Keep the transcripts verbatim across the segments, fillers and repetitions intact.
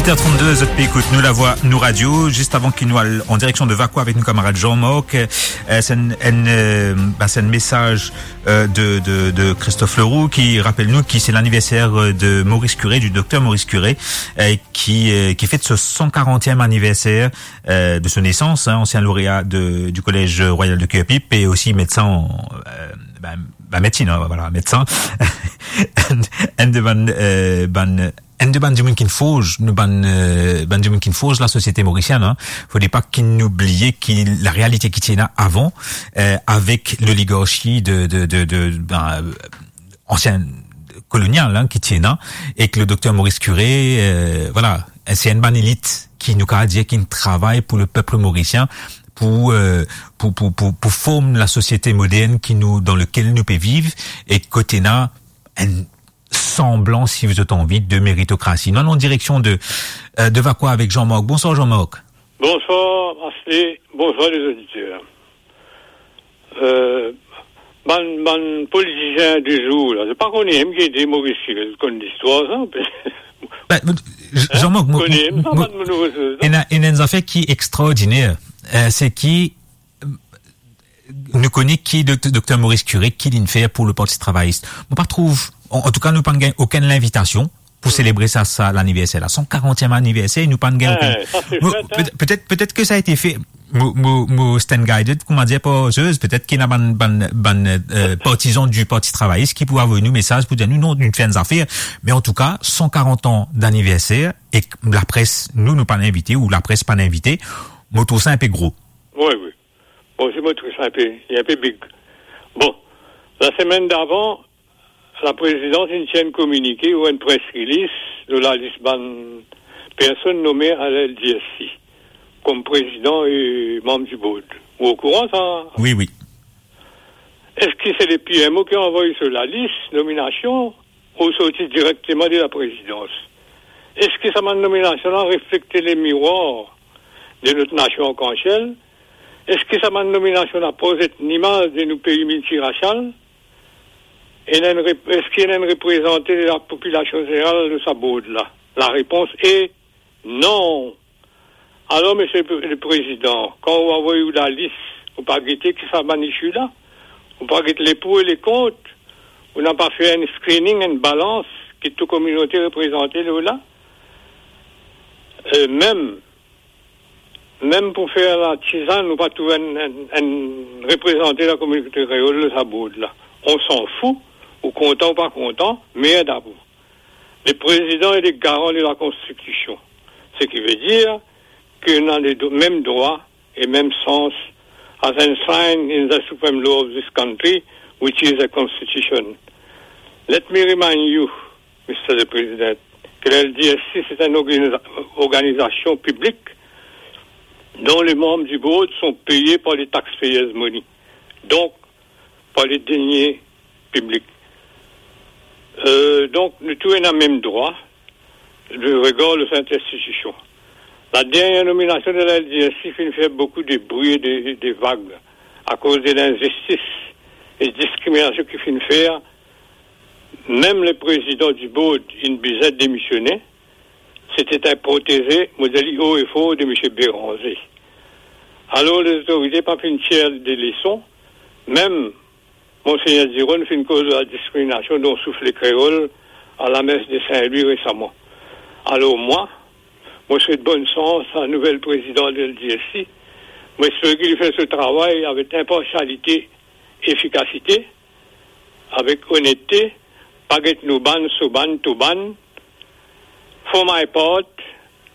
Huit heures trente-deux, zot pe ekout Nou Lavwa, Nou Radio. Zis avan ki nou al an direksion de Vacoas avek nou kamarad Jean-Marc, eh, se enn, enn, eh, ba, se enn mesaz, eh, de, de, de Christophe Leroux ki rapel nou ki se laniverser, eh, de Maurice Curé, du docteur Maurice Curé, eh, ki, eh, ki fet so san karantiem aniverser, eh, de so nesans, hein, ansien lorea de, du Collège Royal de Curepipe e osi medsin, eh, ba, ba, medsin, hein, voilà, medsin. Enn, enn de bann, eh, bann enn de bann dimoun ki'nn forz, nou bann, eh, bann dimoun ki'nn forz lasosiete morisienn, hein. Fode pa ki nou bliye ki larealite ki ti ena avan, eh, avek loligarchi de, de, de, de, ben, ansien kolonial, hein, ki ti ena, ek le docteur Maurice Curé, eh, voilà, se enn bann elit ki nou kapav dir ki'nn travay pou lepep morisien, pou, eh, pou, pou, pou, pou form lasosiete modern ki nou, dan lekel nou pe viv, e kot ena enn sanblan, si zot anvi, de meritokrasi. Nou al an direksion de, eh, de Vacoas avek Jean-Marc. Bonswar, Jean-Marc. Bonswar, Asli. Bonswar, lezoditer. Eh, bann, bann politisien de zour la, zot pa kone mem ki ete Maurice Curé, zot konn listwar sa? Ben, mo, J-, Jean-Marc, mo, kone mem sa, mo, bann nouvo soz la? Ena, ena enn zafer ki extraordiner, eh, se ki, nou kone ki dokt-, dokter Maurice Curé, ki li'nn fer pou le Parti Travayis. Mo pa trouv, an, antouka, nou pa'nn gagn okenn linvitasion pou selebre sa, sa laniverser la, san karantiem aniverser, nou pa'nn gagn okenn. Eh, sa se mo, fet, hein. Petet, petet ke sa ete fer, mo, mo, mo stand guided, kouma dir, par Zeus, petet ki ena bann, bann, bann, eh, partizan du Parti Travayis ki pou avoy nou mesaz pou dir nou, non, nou fer enn zafer. Me antouka, san karant an daniverser, e lapres, nou, nou pa'nn invite, ou lapres pa'nn invite, mo trouv sa inpe gro. Wi, wi. Bon, si mo trouv sa inpe, li inpe big. Bon, lasemenn davan, laprezidans inn tir enn kominike ou enn press release lor lalis bann personn nome a la L D S C kom prezidan e manm di board. Ou okouran sa? Wi, wi. Eski se le P M O ki anvoy so lalis nominasion ou sorti direkteman de laprezidans? Eski sa bann nominasion la reflekte lemirwar de not nasion an kansiel? Eski sa bann nominasion la prozet limaz de nou pei miltirasial? Ena enn rep-, eski ena enn reprezante de lapopilasion zeneral lor sa board la? Larepons e non. Alor, Misie le Pre-, le Prezidan, kan ou avoy ou lalis, ou pa gete ki sa bann issue la? Ou pa get le pour e le kont? Ou napa fer enn screening, enn balans ki tou kominote reprezante lor la? E mem, mem pou fer latizann, ou pa trouv enn, enn, enn reprezante lakominote kreol lor sa board la. On s'en fout, ou kontan ou pa kontan, merd a vou. Le prezidan e le garan de lakonstitision, seki ve dir ki nou ena le dro-, mem drwa e mem sans as enshrined in the supreme law of this country, which is a constitution. Let me remind you, Mister the President, que la L D S C, c'est une organisa-, organisation publique dont les membres du board sont payés par les taxpayers' money. Donc, par les deniers publics. Euh, donk, nou tou ena mem drwa de regar lor sa enn institision. Ladernie nominasion de la L D S C finn fer boukou de bri e de, de vag akoz de linzistis e diskriminasion ki finn fer. Mem le prezidan di board inn bizin demisione, sete enn proteze, mo dir li o e for, de Misie Béranger. Alor, lezorite pa finn tir de leson, mem Monsegner Diron finn koz lor ladiskriminasion dont soufre le kreol a lames de Sin-Lwi resaman. Alor mwa, mo swet bonn sans a nouvel prezidan de la L D S C. Mo espere ki li fer so travay avek inparsialite, efikasite, avek onette, pa get nou bann, so bann, to bann. For my part,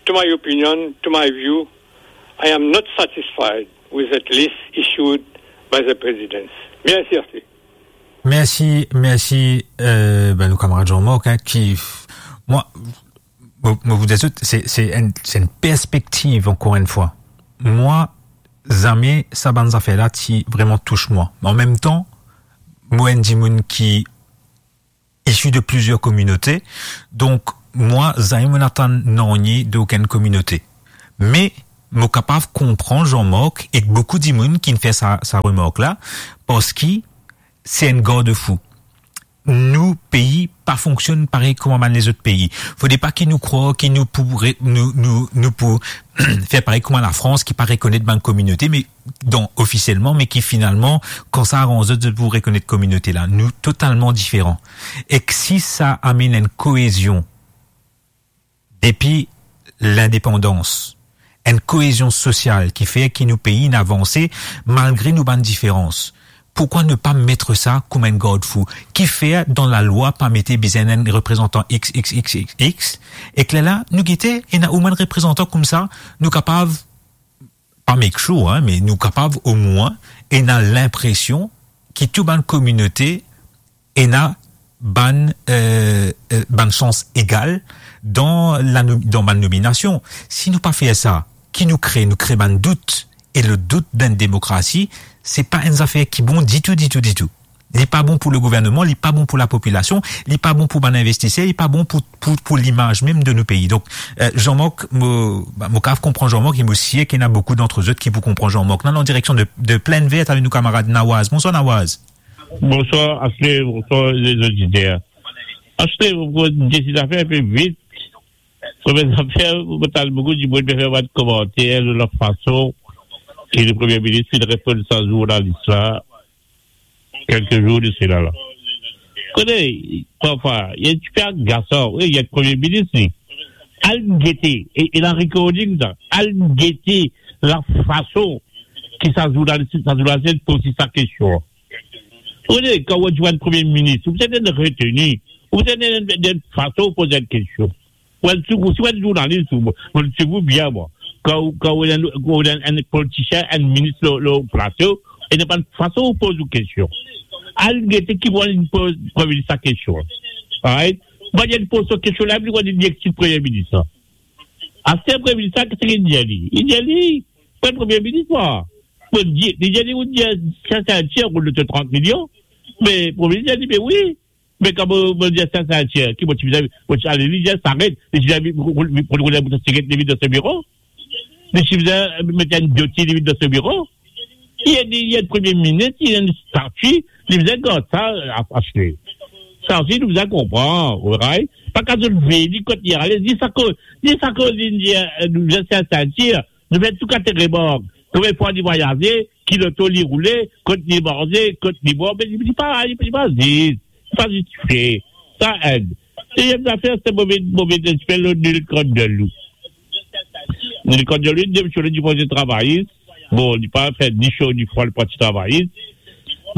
to my opinion, to my view, I am not satisfied with that list issued by the President. Mersi, Asli. Mersi, mersi, euh, ben, nou kamarad Jean-Marc, hein, ki, mwa, mo, mo pou dir zot, se, se enn, se enn perspektiv, ankor enn fwa. Mwa, zame sa bann zafer la ti vreman tous mwa. Me an mem tan, mo enn dimoun ki isi de plizier kominote. Donk, mwa, zame mo'nn atann nanye de okenn kominote. Me, mo kapav konpran Jean-Marc ek boukou dimoun ki'nn fer sa, sa remark la, parski se enn garde-fou. nou pei pa fonksionn parey kouma bann lezot pei. Fode pa ki nou krwar ki nou pou re-, nou, nou, nou pou fer parey kouma Lafrans ki pa rekonet bann kominote, me dan, ofisielman, me ki finalman, kan sa aranz zot, zot pou rekonet kominote la. Nou totalman diferan. Ek si sa amenn enn koezion depi lindepandans, enn koezion sosial ki fer ki nou pei inn avanse malgre nou bann diferans. Poukwa ne pa met sa kouma enn gardfou? Kifer dan lalwa pa mete bizin enn reprezantan X, X, X, X, X, ek lerla, nou gete, ena oumwin reprezantan koumsa, nou kapav, pa make sure, hein, me nou kapav omwin ena linpresion ki tou bann kominote ena bann, euh, euh, bann sans egal dan la nom-, dan bann nominasion. Si nou pa fer sa, ki nou kre, nou kre bann dout. E le dout dan demokrasi, se pa enn zafer ki bon ditou, ditou, ditou. Li pa bon pou le gouverneman, li pa bon pou lapopilasion, li pa bon pou bann investiser, li pa bon pou, pou, pou limaz mem de nou pei. Donk, euh, Jean-Marc, mo, ba, mo kav konpran Jean-Marc, e mo sir ki ena boukou dant zot ki pou konpran Jean-Marc. Nou al an direksion de, de Plaine Verte avek nou kamarad Nawaz. Bonswar, Nawaz. Bonswar, Asle, bonswar, lezoditer. Asle, mo pou dir zafer inpe vit. Premie zafer, mo tann boukou dimoun pe fer bann komanter lor lafason ki le Premie Minis finn reponn sa zournalis la, kelke zour de sela la. Kone, parfwa, li enn tipe agasan, wi, li enn Premie Minis, li. Al gete, e, e la recording sa, al gete lafason ki sa zournalis, sa zournalis poz sa kestion. Ou konnen, kan ou dir enn Premie Minis, ou bizin enn reteni, ou bizin enn, enn, enn fason poz enn kestion. Ou enn, si ou enn zournalis, ou, ou, si ou bien, bon, kan ou, kan ou enn, kan ou enn, enn politisien, enn minis lor, lor plato, ena bann fason ou poz ou kestion. Al gete ki moman li poz Premie Minis sa kestion. Alright? Manier li poz so kestion la, li dir li exil Premie Minis la. Aster Premie Minis la, ki sa li dir li? Li dir li, mwa Premie Minis, mwa. Bon, li, li dir li, ou dir, sa, sa, tir, ou le trant milion. Me Premie Minis la dir, me wi. Me kan mo, mo dir sa, sa, tir, ki mo ti bizin, mo ti ale, li dir, sa aret. Li dir, mo, mo, mo, mo, mo, sigaret, li vinn dan so biro. Li ti bizin met enn doti, li vinn dan so biro. Li, li, li enn Premie Minis, li ena enn stati, li bizin gard sa, a, Asle. Sa osi, nou bizin konpran, alright? Pa kapav vini kot li ale, li sa koz, li sa koz, li dir, eh, nou bizin sa, sa, tir. Nou fer tou kalite remark. Konbien fwa li vwayaze, ki loto li roule, kot li manze, kot li bwar, me li pa, li pa zis, li pa zis fer. Sa enn. Deziem zafer, se move, move lespri lor Nilkant Deloue. Nilkant Deloue, li demisionn dipozisyon travayis. Bon, li pa fer ni so ni fwa, li parti travayis.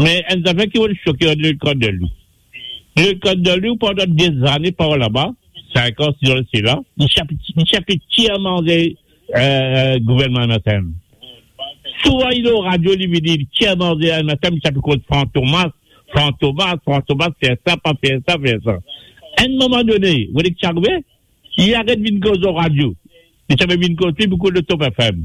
Me enn zafer ki mo soke ar Nilkant Deloue. Nilkant Deloue, pandan dezane par laba, sink an, sis an de sela, li ti pe, li ti pe tir manze, euh, gouvernman M S M. Souvan, li lor radio, li vini, li tir manze M S M, li ti pe koz Franck Thomas, Franck Thomas, Franck Thomas, fer sa, pa fer sa, fer sa. Enn moman done, ou kone ki ti arive? Li aret vinn koz lor radio. Li ti pe vinn koz pli boukou lor Top F M.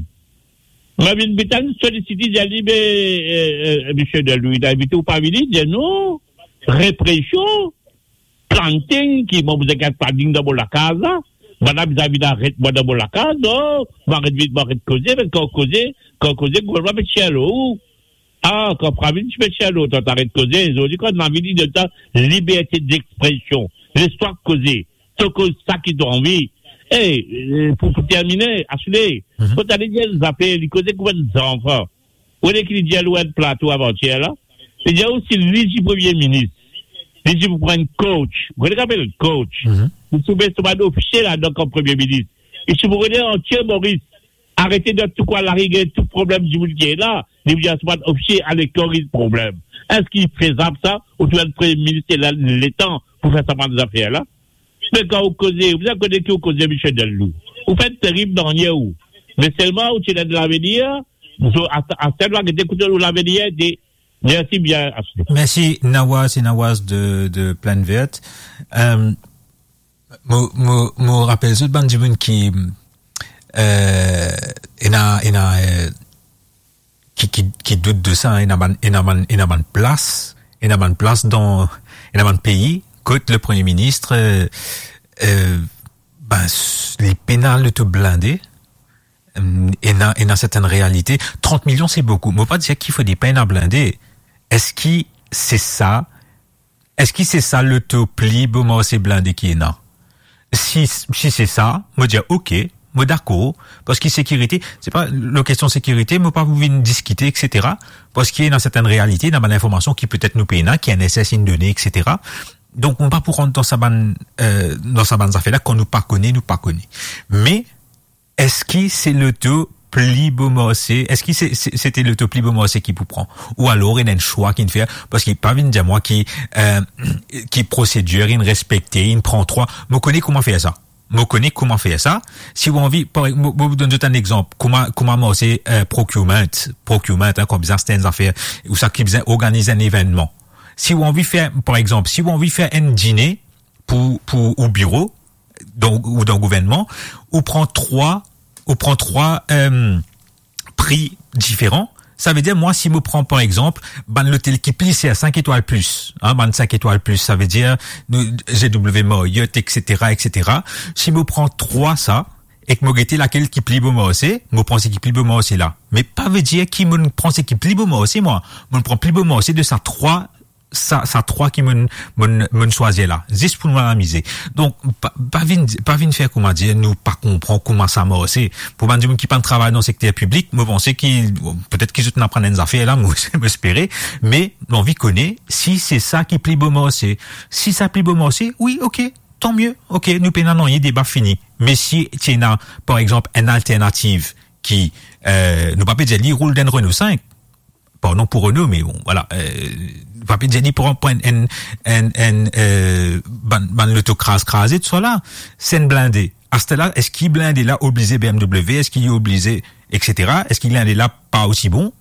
Mo vinn bitan solisit li, dir li, be, eh, eh, misie Deloue, li invite ou pa vini? Li dir, non, represion, planting, ki mo bizin gagn planting dan mo lakaz la. Bann la bizin vinn aret mwa dan mo lakaz, non, mo aret vinn, mo aret koze, me kan koze, kan koze, gouvernman pe tir lor ou. Ah, kan Pravin ti pe tir lor twa, to aret koze, zordi kan Navin li donn twa liberte dexpresion, les twa koze, to koz sa ki to anvi. E, eh, pou, pou termine, Asle, Mhm. kot ale dir zafer, li koze kouma enn zanfan. Ou kone ki li dir lor enn plato avantier la? Li dir ou si li ti Premie Minis, li ti pou pran enn coach. Ou kone ki apel coach? Mhm. Li ti pou met so bann ofisie ladan kom Premie Minis. Li ti pou rode antie Moris. Arete dan tou kwin lari, gagn tou problem dimoun ki ena. Li dir so bann ofisie ale koriz problem. Eski fezab sa? Ou trouv enn Premie Minis ena letan pou fer sa bann zafer la? Me kan ou koze, ou bizin kone ki ou koze, misie Deloue. Ou fer terib dan anie ou. Me selman ou ti ena de lavenir, so, a, a, a, gete kote ou lavenir ete. Mersi bien, Asle. Mersi, Nawaz, e Nawaz de, de Plaine Verte. Euh, mo, mo, mo rapel zot bann dimoun ki, euh, ena, ena, euh, ki, ki, ki dout de sa, hein, ena bann, ena bann, ena bann plas, ena bann plas dan, ena bann pei, kot le Premie Minis, euh, euh, ben, s-, li pena loto blinde, euh, ena, ena sertenn realite. Trant milion, se boukou. Mo pa dir ki fode pa ena blinde. Eski se sa Eski se sa loto pli bo marse blinde ki ena? Si, si se sa, mo dir, ok, mo dakor, parski sekirite, se pa, lor kestion sekirite, mo pa pou vinn diskite, et cetera, parski ena sertenn realite, ena bann informasion ki petet nou pena, ki N S S inn done, et cetera. Donk, mo pa pou rant dan sa bann, eh, dan sa bann zafer la, kan nou pa kone, nou pa kone. Me, eski se loto pli bo marse, eski se, se, se te loto pli bo marse ki pou pran? Ou alor, ena enn swa ki'nn fer, parski pa vinn dir mwa ki, eh, ki prosedir inn respekte, inn pran trwa. Mo kone kouma fer sa. Mo kone kouma fer sa. Si ou anvi, par, mo, mo donn zot enn exanp. Kouma, kouma marse, eh, procurement, procurement, hein, kan bizin aste enn zafer, ou sa ki bizin organiz enn evennman. Si ou anvi fer, par exanp, si ou anvi fer enn dine pou, pou ou biro, dan, ou dan gouvernman, ou pran trwa, ou pran trwa, eh, pri diferan. Savedir, mwa, si mo pran, par exanp, bann lotel ki pli ser, sink etwal plis, hein, bann sink etwal plis, savedir, nou, G W Marriott, et cetera, et cetera. Si mo pran trwa sa, ek mo gete lakel ki pli bo marse, mo pran seki pli bo marse la. Me pa vedir ki mo'nn pran seki pli bo marse, mwa. Mo'nn pran pli bo marse de sa trwa, sa, sa trwa ki mo'nn, mo'nn, mo'nn swazir la, zis pou nou amize. Donk, pa, pa vinn, pa vinn fer kouma dir nou pa konpran kouma sa marse. Pou bann dimoun ki pa'nn travay dan sekter piblik, mo panse ki, bon, petet ki zot inn aprann enn zafer la, mo, mo espere, me mo anvi kone si se sa ki pli bo marse. Si sa pli bo marse, wi, ok, tan mie, ok, nou pena nanye, deba fini. Me si ti ena, par exanp, enn alternativ ki, eh, nou pa pe dir li roul dan enn Renault cinq, pardon pou Renault, me bon, vwala, eh, pa pe dir li pran, pran enn, enn, enn, eh, bann, bann loto kraz kraze, tousala, se enn blinde. Aster la, eski blinde la oblize B M W, eski li oblize, et cetera? Eski blinde la pa osi bon?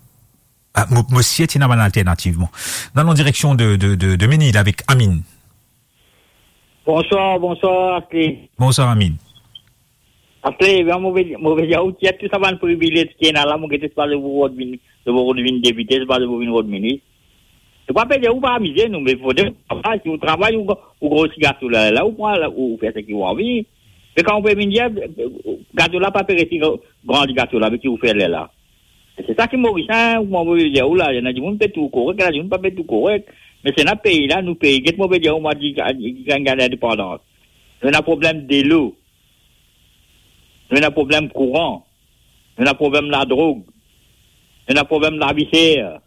Ah, mo, mo sir ti ena bann alternativ, bon. Dan la direksion de, de, de, de Menil avek Amine. Bonswar, bonswar, Asli. Bonswar, Amine. Asli, ebien, mo pe, mo pe dir ou, tir tou sa bann privilez ki ena la, mo gete pa zot pou rod vinn, zot pou rod vinn depite, pa zot pou vinn rod minis. Se pa pe dir ou pa amize nou, me fode ou travay, si ou travay, ou, ou grosi gato la, la, ou pran, la, ou fer seki ou anvi. Me kan ou pe vinn dir, gato la pa pe resi gran, gran gato la, me ki ou fer lerla? Se sa ki Morisien, kouma mo pe dir ou la, ena dimoun pe trouv korek, ena dimoun pa pe trouv korek. Me se ena pei la, nou pei, get mo pe dir ou, mwa, di, di, di, gagn, gagn lindepandans. Nou ena problem delo. Nou ena problem kouran. Nou ena problem ladrog. Nou ena problem lavi ser.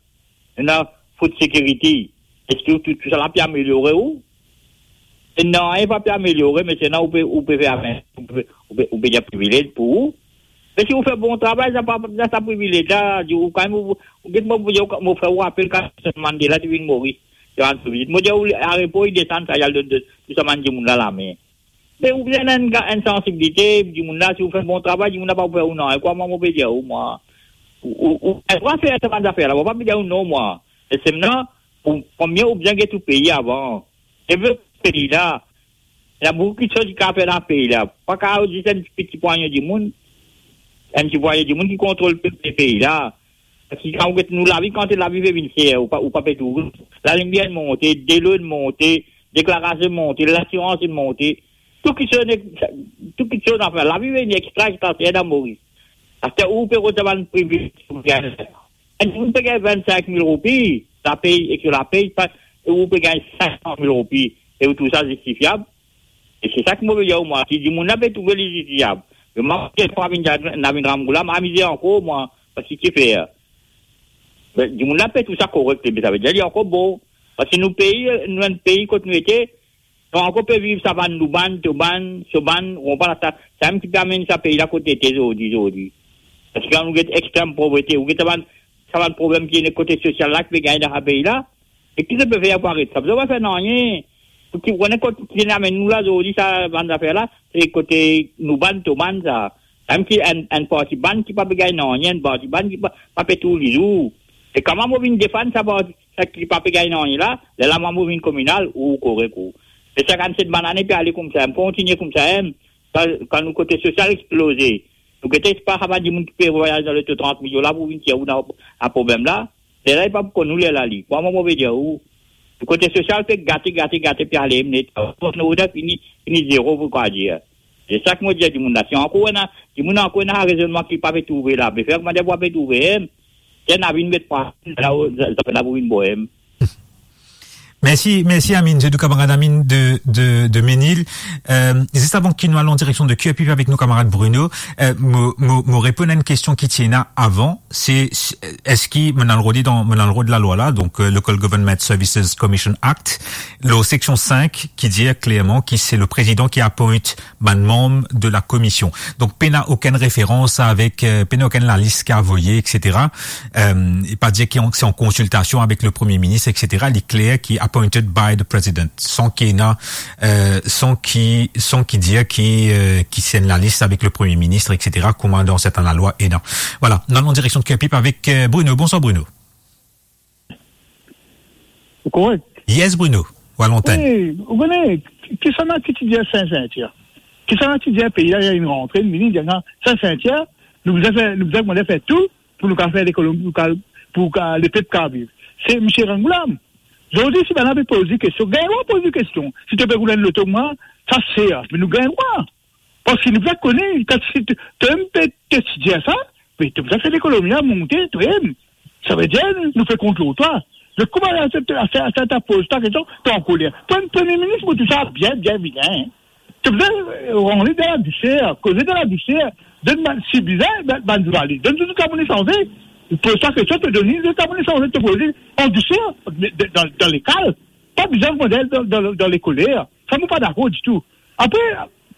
Nou ena food security. Eski tou, tou sa la pe ameliore ou? E non, li pa pe ameliore, me se ena ou pe, ou pe fer, ou pe, ou pe, ou pe dir privilez pou ou. Me si ou fer bon travay, sa pa, sa, sa privilez la, di ou kanmem, ou, ou get mo, mo, mo fer ou rapel kan Nelson Mandela ti vinn Moris, ti rann so vizit. Mo dir ou, arepo, li desann, sa, li al donn de, tou sa bann dimoun la lame. Me ou bizin enn ga-, enn sansibilite, dimoun la, si ou fer bon travay, dimoun la pa pou fer ou nanye, kouma mo pe dir ou, mwa. Ou, ou, ou, ou, ou fer sa bann zafer la, mo pa pe dir ou non, mwa. E se mwa, pou, premie, ou bizin get ou pei avan. Devlop pei la. Ena boukou kiksoz ki kapav fer dan pei la. Pa kapav zis enn ti, ti pwagne dimoun. Enn ti pwagne dimoun ki kontrol pe-, pe-, pei la. Parski kan ou get nou lavi, kan lavi pe vinn ser, ou pa, ou pa pe trouve. Lalimier inn monte, delo inn monte, deklarasion inn monte, lasirans inn monte. Tou kiksoz, tou kiksoz, anfin, lavi vinn extra, extra ser dan Moris. Aster ou pe rod sa bann privilez, ou gagn. Enn dimoun pe gagn vinn-sink mil roupi, lapey, ek so lapey, pa, e ou pe gagn sink san mil roupi, e ou trouv sa zistifiab? E se sa ki mo pe dir ou, mwa, si dimoun la pe trouve li zistifiab. Me mwa, kan mo vinn, mo vinn rann kouleur, mo amize ankor, mwa, parski ki fer? Be, dimoun la pe trouv sa korek, be, savedir li ankor bon. Parski nou pei, nou enn pei kot nou ete, nou ankor pe viv sa bann loubann, tobann, sobann, ou konpran sa, samem ki pe amenn sa pei la kot li ete zordi, zordi. Parski kan nou get extrem povrete, ou get sa bann, sa bann problem ki ena kote sosial la, ki pe gagn dan sa pei la, e ki zot pe fer pou aret sa? Zot pa fer nanye. Pou ki, ou kone kot ki inn amenn nou la zordi, sa bann zafer la, se kote nou bann, to bann sa. Samem ki enn, enn parti bann ki pa pe gagn nanye, enn parti bann ki pa, pa pe trouv lizour. E kouma mo vinn defann sa parti, sa ki pa pe gagn nanye la, lerla mwa mo vinn kominal, ou korek ou. E sa, kan set bann ane pe ale koumsa, kontinie koumsa, kan, kan nou kote sosial exploze, nou gete pa sa bann dimoun ki pe vwayaz dan loto trant milyon la pou vinn tir ou dan, dan problem la. Lerla li pa pou konn ou lerla li. Kouma mo pe dir ou, kote sosial pe gate, gate, gate, pe ale net. Kot nou fini, fini zero, pou kwa dir. Se sa ki mo dir dimoun la. Si ankor ena, dimoun ankor ena rezonnman ki pa pe trouve la. Be fer kouma dir pa pe trouve, em. Ki ena vinn met pa, la, o, sa, sa pena pou vinn boem. Mersi, mersi Amine, se nou kamarad Amine de, de, de Menil. Euh, zis avan ki nou al an direksion de Q R P avek nou kamarad Bruno, euh, mo, mo, mo reponn a enn kestion ki ti ena avan, se, se, eski, mo al rod dan, mo al rod lalwa la, donk, euh, Local Government Services Commission Act, lor seksion sink, ki dir klerman ki se le prezidan ki appoint bann manm de la komision. Donk, pena okenn referans avek, euh, pena okenn lalis ki avoye, et cetera. Euh, e pa dir ki an, se an konsiltasion avek le Premie Minis, et cetera. Li kler ki appointed by the president, san ki ena, euh, san ki, san ki dir ki, euh, ki se enn lalis avek le Premie Minis, et cetera, kouma dan sertin lalwa ena. Vwala, nou al an direksion de Q R P avek, euh, Bruno. Bonswar Bruno. Ou korek? Yes, Bruno, ou a lantenn. Wi, ou kone, kisannla ki ti dir Saint-Cynthia? Kisannla ti dir pei la, li rantre, li vini, li dir, Saint-Cynthia, nou bizin fer, nou bizin koumans fer tou pou nou kapav fer lekonomi, pou ka, pou ka, lepep kapav viv? Se misie Ramgoolam. Zordi, si bann-la pe poz li kestion, gagn drwa poz li kestion. Si to pe roul enn loto, mwa, sa ser, me nou gagn drwa. Parski nou pa kone, kan si to, to mem pe, to ti dir sa, me to bizin fer lekonomi a monte, to mem. Savedir, nou pe kont lor twa. Me kouma la, sa, sa, sa, ta poz twa kestion, to ankoler. Pre-, Premie Minis, mo trouv sa bien, bien vilin, hein. To bizin, euh, rann li dan ladousir, koze dan ladousir, donn bann, si bizin, bann, bann zounalis, donn zot kabinet sanze. Poz twa kestion, to donn li zot kabinet sanze, to poz li an dousir, dan, dan, dan lekal. Pa bizin koumans dan, dan, dan lekoler. Sa, mo pa dakor ditou. Apre,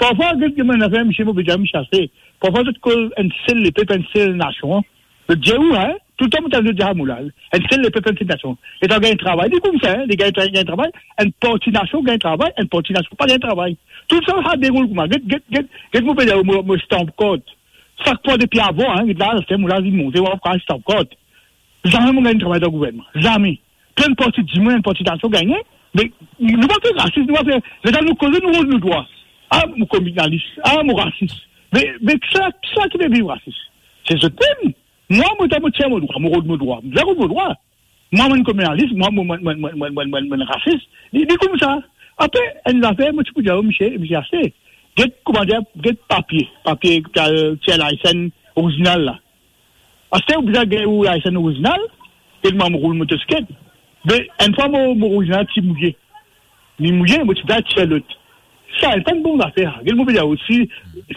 parfwa, get, get, mo ena fer misie, mo pe dir misie ase. Parfwa, zot koz enn sel lepep, enn sel nasion. Zot dir ou, hein? Toultan, mo tann zot dir sa mo la. Enn sel lepep, enn sel nasion. Letan gagn travay, li koumsa, hein? Li gagn tra-, gagn travay, enn parti nasion gagn travay, enn parti nasion pa gagn travay. Toultan, sa deroul kouma. Get, get, get, get, mo pe dir, mo, mo stamp card. Sak fwa depi avan, hein, get la, se mo la, li monte, mo pa stamp card. Zame mo gagn travay dan gouvernman. Zame. Plen parti dimoun, enn parti nasion gagne, me nou pa fer rasis, nou pa fer, letan nou koze, nou rod nou drwa. Ah, mo kolonialis, ah, mo rasis. Me, me kisa, kisa ki pe viv rasis? Se zot mem. Mwa, mo, mo tir mo drwa, mo rod mo drwa. Mo rod mo drwa. Mwa, mo kolonialis, mwa, mo, mo rasis. Li, li koumsa. Apre, enn zafer, mo ti pou dir, misie, misie ase. Get, koumadir, get papie, papie, ki al tir license orizinal la. Aster ou bizin gagn ou license orizinal, e mwa mo roul motosiklet. Me enn fwa mo, mo orizinal ti mouye. Li mouye, mo ti bizin tir lot. Sa, li pa enn bon zafer. Get mo pe dir osi,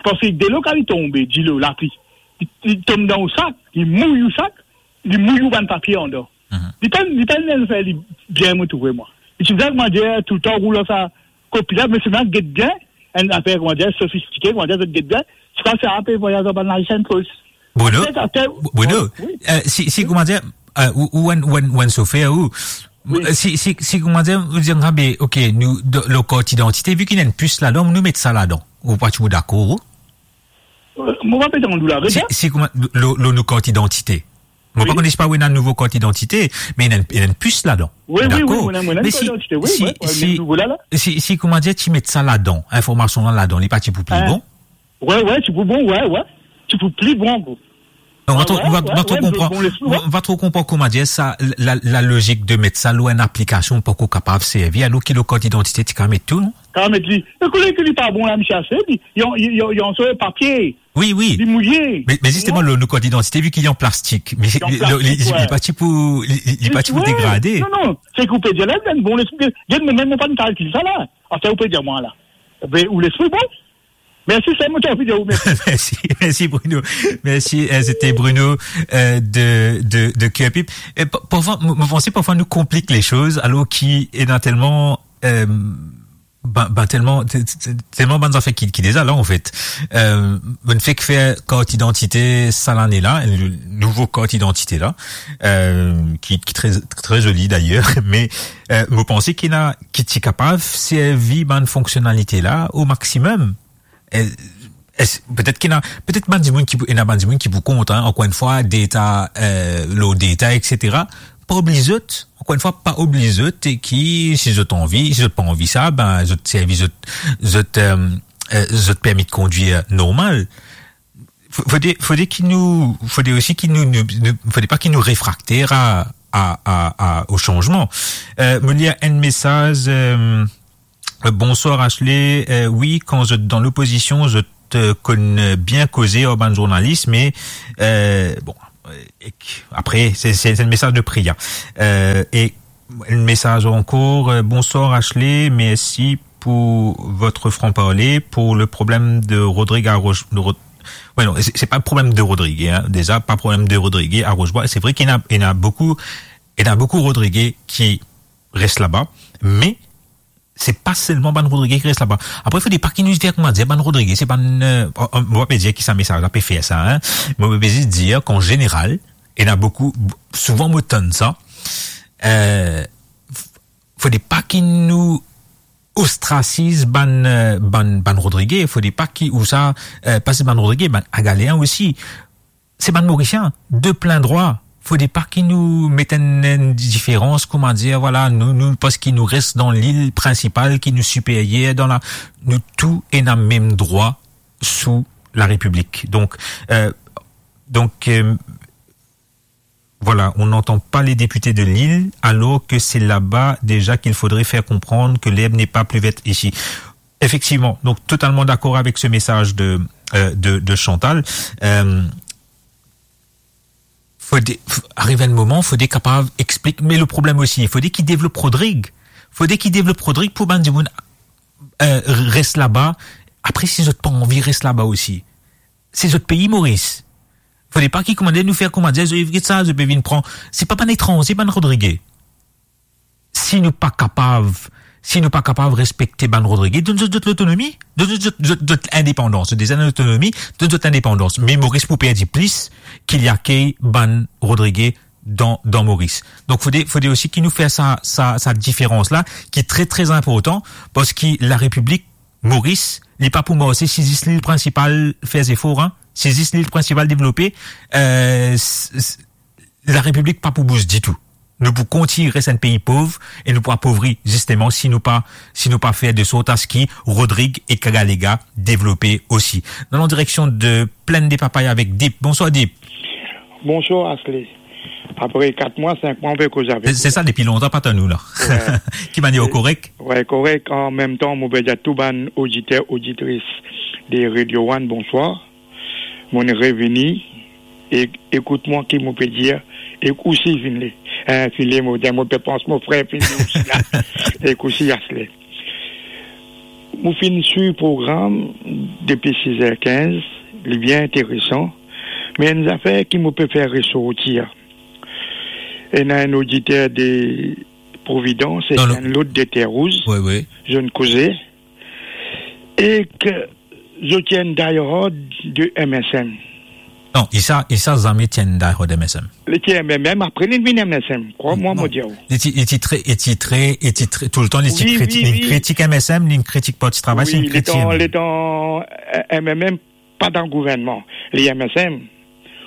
parski delo kan li tonbe, dilo, lapli, li, li tom dan ou sak, li mouy ou sak, li mouy ou bann papie andan. Mhm. Li pa, li pa enn zafer li bien, mo trouve mwa. Li ti bizin, koumadir, toultan roul ar sa kopi la, me sima get bien, enn zafer, koumadir, sofistike, koumadir, zot get bien, se pa sa, pe vwayaz ar bann license fos. Bruno, Aster, aster, Bruno, wi. Euh, si, si, koumadir, euh, ou, ou enn, ou enn, ou enn sofer, ou, Wi. Euh, si, si, si, koumadir, ou dir, ah, be, ok, nou, de, lor kart idantite, vi ki ena enn pis ladan, nou met sa ladan. Ou pa ti pou dakor, ou? Euh, mo pa pe tann ou la, Si, rega. si, kouma, lor, lor nou kart idantite. Mo pa Wi. kone si pa ou ena nouvo kart idantite, me ena enn, ena enn pis ladan. Wi, wi, Dakor. wi, mo ena, mo ena Me enn si, kart idantite, wi, si, wi, wi, si, nouvo la, la. si, si, koumadir, ti met sa ladan, informasion la ladan, li pa ti pou pli Hein. bon? Wi, wi, ti pou bon, wi, wi. Ti pou pli bon, wi. Non, mo pa tro, Wi, mo pa, wi, mo pa tro wi, konpran, bon, lespri, mo, wi. mo pa tro konpran koumadir sa, la, la, lalozik de met sa lor enn aplikasion, pa ou kapav servi, alor ki lor kart idantite ti kapav met tou, non? Kapav met li. E kouma ki li pa bon la, misie ase, li, li, li, li, li, so papie. Wi, wi. Li mouye. Me, me zisteman, Non. lor nou kart idantite, vi ki li an plastik, me Li an li, li, plastik, li, wi. li pa ti pou, li, li, li pa ti pou Wi. degrade. Non, non, seki ou pe dir la, li enn bon lespri, get, mo mem mo pa'nn kalkil sa la. Aster ou pe dir mwa la. Be, ou lespri bon. Mersi, se mo ti anvi dir ou mersi. Mersi, mersi Bruno. Mersi, euh, c'était Bruno, euh, de, de, de Q R P. E pa-, parfwa, mo, mo panse parfwa nou konplik lesoz, alor ki ena telman, euh, ben, ben, telman, te-, te-, telman bann zafer ki, ki deza la, anfet. Euh, bann fek fer kart idantite sa lane la, enn nouvo kart idantite la, euh, ki, ki tre, tre zoli dayer, me, euh, mo panse ki ena, ki ti kapav servi bann fonksionalite la o maximum. Eh, es, petet ki ena, petet bann dimoun ki pou, ena bann dimoun ki pou kont, hein, ankor enn fwa, data, euh, lor data, et cetera. Pa obliz zot, ankor enn fwa, pa obliz zot, e ki, si zot anvi, si zot pa anvi sa, ben, zot servi zot, zot, euh, euh, zot permi de kondwir normal. Fo-, fode, fode ki nou, fode osi ki nou, nou, nou, fode pa ki nou refrakter a, a, a, a, o sanzman. Euh, mo lir enn mesaz, euh, Euh, bonswar Ashley. Euh, wi, kan zot dan lopozision, zot, euh, konn bien koze ar bann zournalis, me, euh, bon, euh, ek, apre, se, se, se enn mesaz de Priya. Euh, e Un message encore. Euh, bonsoir Ashley, merci pour votre franc-parler. Pour le problème de Rodrigue à Roche-, de Rod-, ouais, non, c'est, c'est pas le problème de Rodrigue, hein. Déjà, pas problème de Rodrigue à Roche-Bois. C'est vrai qu'il y en a, il y en a beaucoup, il y en a beaucoup Rodriguais qui restent là-bas, mais c'est pas seulement bann Rodriguais qui restent là-bas. Après, fode pa ki nou dir, kouma dir, bann Rodriguais, se bann, euh, on, on, mo pa pe dir ki sa mesaz la pe fer sa, hein. Mo pe zis dir qu'en général, il y en a beaucoup, souvent mo tann sa, euh, fode pa ki nou ostrasiz bann, euh, bann, bann Rodriguais, fode pa ki, ou sa, euh, pa se bann Rodriguais, bann Agalean osi. Se bann Morisien, de plin drwa. Fode pa ki nou met enn, enn diferans, kouma dir, vwala, nou, nou, parski nou res dan lil prinsipal ki nou siperyer dan la, nou tou ena mem drwa sou la Repiblik. Donk, euh, donk, euh, Voilà, on n'entend pas les députés de l'île, alors que c'est là-bas déjà qu'il faudrait faire comprendre que l'herbe n'est pas plus verte ici. Effectivement, donc totalement d'accord avec ce message de, euh, de, de Chantal. Euh, fode, f-, ariv enn moman, fode kapav explik, me le problem osi, fode ki devlop Rodrig. Fode ki devlop Rodrig pou bann dimoun, euh, res laba. Apre, si zot pa anvi res laba osi, se zot pei, Moris. Fode pa ki kouma dir nou fer kouma dir, zot, get sa, zot pe vinn pran. Se pa bann etranze, bann Rodrige. Si nou pa kapav, si nou pa kapav respekte bann Rodrige, donn zot, zot lotonomi, donn zot, zot, zot, zot indepandans. Zot deza dan lotonomi, donn zot indepandans. Me Moris pou perdi plis ki li akey bann Rodrige dan, dan Moris. Donk, fode, fode osi ki nou fer sa, sa, sa diferans la, ki tre, tre inportan, parski Larepiblik Moris, li pa pou marse si zis lil prinsipal fer zefor, hein. Si zis lil prinsipal devlope, euh, s-, s-, Larepiblik pa pou bouz ditou. Nou pou kontign res enn pei pov e nou pou apovri, zisteman, si nou pa, si nou pa fer de sort a se ki Rodrig ek Agalega devlope osi. Nou al an direksion de Plaine des Papayes avek Deep. Bonswar, Deep. Bonswar, Ashley. Apre kat mwa, sink mwa, nou pe koz avek ou. Se, se sa, depi lontan pa tann ou la. Wi. Ki manier, korek? Wi, korek. An mem tan, mo pe dir tou bann oditer, oditris de Radio One, bonswar. Mo'nn revini, e ekout mwa ki mo pe dir, ek osi finn le, eh, finn le, mo dir, mo pe pans mo frer finn le osi la, ek osi Ashley. Mo finn swiv program depi siz er kinz, li bien interesan, me enn zafer ki mo pe fer resortir. Ena enn oditer de Providence, e enn lot de Terre Rouge, wi, wi, zot inn koze, e ki zot ti enn diehard de M S M. Non, Issa, Issa zame ti enn diehard M S M. Li ti M M M, apre li vinn M S M. Krwar mwa, mo dir ou. Li ti, li ti tre, li ti tre, li ti tre, toultan, li ti, wi, kriti-, wi, li wi, kritik M S M, li kritik Parti Travay, wi, li kritik letan, letan, eh, M M M pa dan gouvernman, li M S M,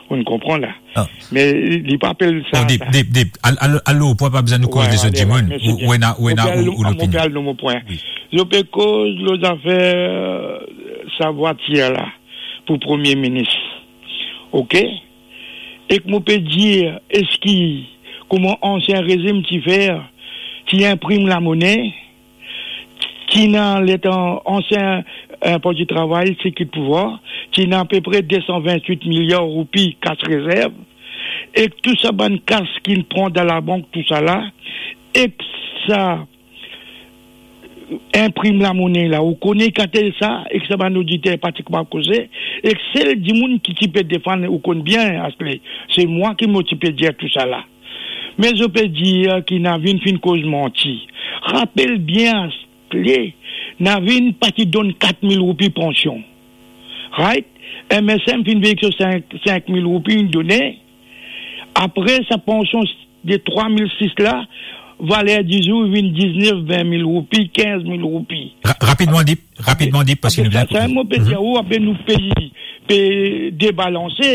ou konpran la. Ah. Me li pa apel sa, bon, Deep, sa. Deep, Deep, al-, al-, alor, pou pa bizin nou koz lezot dimoun, ou, ou ena, ou ena, ou, ou lopinion. Mo pe al, mo pe al dan mo pwin. Wi. Zot pe koz lor zafer, euh, sa vwatir la, pou Premie Minis. Ok? Ek mo pe dir, eski, kouma ansien rezim ti fer, ti inprim lamone, ti ena letan ansien, eh, Parti Travay ti kit pouvwar, ti ena apepre de san vintwit miliar roupi kas rezerv, ek tou sa bann kas ki pran dan labank, tousala, ek sa inprim lamone la, ou kone kate sa, ek sa bann oditer pa ti kapav koze, ek sel dimoun ki ti pe defann, ou konn bien, Ashley, se mwa ki mo ti pe dir tousala. Me zot pe dir ki Navin finn koz manti. Rapel bien, Ashley, Navin pa ti donn kat mil roupi pansion. Right? M S M finn vey ek so sink, sink mil roupi, inn done. Apre sa pansion de trwa mil sis la, valer dizour vinn diznef, vin mil roupi, kinz mil roupi. Ra-, rapidman, Deep, rapidman, Deep, parski nou bizin... Sa, sa, mo pe dir ou, apre nou pei pe debalanse,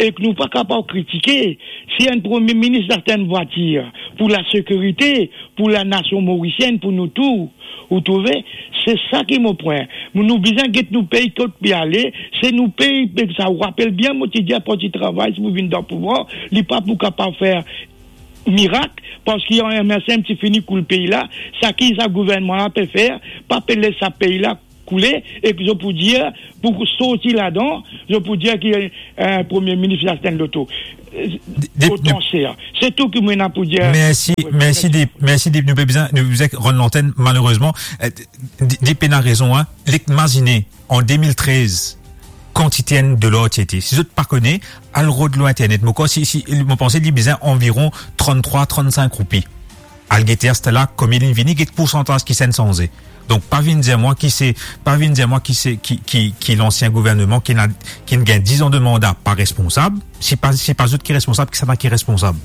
ek nou pa kapav kritike. Si enn Premie Minis aste enn vwatir pou lasekirite, pou lanasion morisienn, pou nou tou, ou trouve, se sa ki mo pwin. Nou bizin get nou pei kot pe ale, se nou pei, pe sa, ou rapel bien, mo ti dir Parti Travay, si pou vinn dan pouvwar, li pa pou kapav fer mirak, parski M S M ti fini koul pei la, sa ki sa gouvernman la pe fer, pa pe les sa pei la koule, e ki zot pou dir, pou sorti ladan, zot pou dir ki, eh, Premie Minis li aste enn loto. Eh, de, de, potansiel. Se tou ki mo ena pou dir. Mersi, wi, mersi, mersi. Dip, mersi, Dip. Nou pe bizin, nou bizin rann lantenn, malerezman. Eh, Dip, Dip ena rezon, hein. Nek mazine, an de mil trez, kantite enn dolar ti ete. Si zot pa kone, al rod lor internet. Mo krwar si, si, mo panse li bizin anviron tranntrwa, trannsink roupi. Al gete aster la, konbien linn vini, get poursantaz ki sann sanze. Donk, pa vinn dir mwa ki se, pa vinn dir mwa ki se, ki, ki, ki lansien gouvernman ki ena, ki inn gagn diz an de manda pa responsab. Si pa, si pa zot ki responsab, kisannla ki responsab?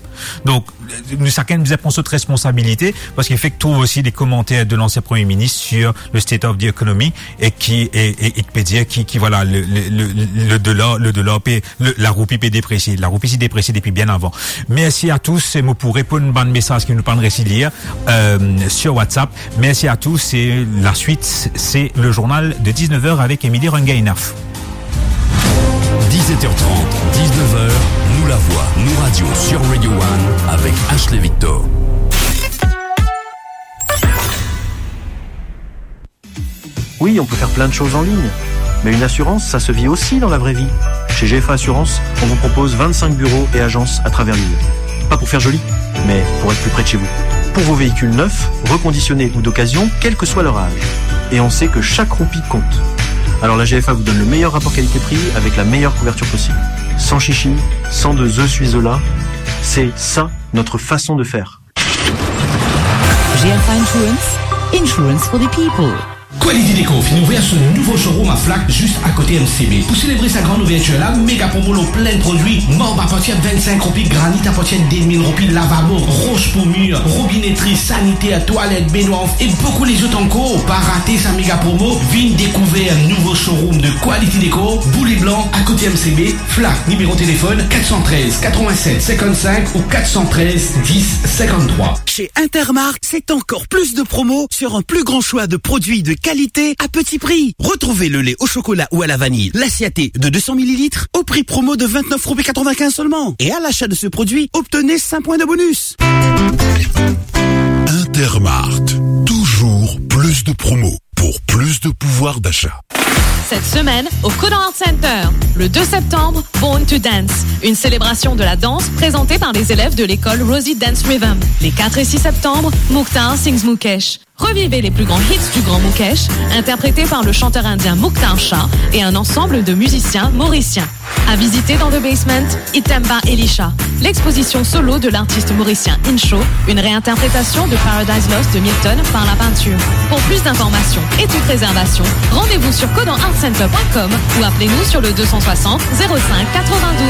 Donk, nou sakenn bizin pran zot responsabilite, parski fek trouv osi de komanter de lansien Premie Minis sur le state of the economy, e ki, e, e, e ki pe dir ki, ki, vwala, le, le, le, le dolar, le dolar pe, le, laroupi pe depresie. Laroupi ti depresie depi bien avan. Mersi a tous. E mo pou reponn bann mesaz ki nou pa'nn resi lir, euh, sur WhatsApp. Mersi a tous. E laswit, se le journal de dix-neuf heures avek Emily Rungaynath. Dix-sept heures trente, dix-neuf heures, Nou Lavwa, Nou Radio sur Radio One avec Ashley Victor. Oui, on peut faire plein de choses en ligne. Mais une assurance, ça se vit aussi dans la vraie vie. Chez G F A Assurance, on vous propose vingt-cinq bureaux et agences à travers l'île. Pas pour faire joli, mais pour être plus près de chez vous. Pour vos véhicules neufs, reconditionnés ou d'occasion, quel que soit leur âge. Et on sait que chaque roupie compte. Alors la G F A vous donne le meilleur rapport qualité-prix avec la meilleure couverture possible. Sans chichi, sans de je suis là, c'est ça notre façon de faire. G F I Insurance, insurance for the people. Quality Decor finn ouver so nouvo showroom a Flacq, zis akote M C B. Pou selebre sa gran ouvertir la, mega promo lor plin prodwi, marb apartir vinn-sink roupi, granit apartir de mil roupi, lavabo, ros pou mir, robinetri, saniter, twalet, benwar e boukou lezot ankor. Pa rate sa mega promo, vinn dekouver nouvo showroom de Quality Decor, Boulevard Blanc, akote M C B, Flacq, nimero telefonn kat san trez, katrovin-set, sinkant-sink ou kat san trez, dis, sinkant-trwa. Chez Intermark, c'est encore plus de promos sur un plus grand choix de produits de qualité à petit prix. Retrouvez le lait au chocolat ou à la vanille, l'Asiaté de deux cents millilitres, au prix promo de vingt-neuf roupies quatre-vingt-quinze seulement. Et à l'achat de ce produit, obtenez cinq points de bonus. Intermark, toujours plus de promos pour plus de pouvoir d'achat. Cette semaine, au Kodan Art Center, le deux septembre, Born to Dance, une célébration de la danse présentée par les élèves de l'école Rosie Dance Rhythm. Les quatre et six septembre, Mukhtar Sings Mukesh. Revivez les plus grands hits du grand Mukesh, interprétés par le chanteur indien Mukhtar Shah et un ensemble de musiciens mauriciens. À visiter dans The Basement, Itemba Elisha, l'exposition solo de l'artiste mauricien Incho, une réinterprétation de Paradise Lost de Milton par la peinture. Pour plus d'informations et toute réservation, rendez-vous sur kodan art center point com ou appelez-nous sur le deux cent soixante, zéro cinq, quatre-vingt-douze.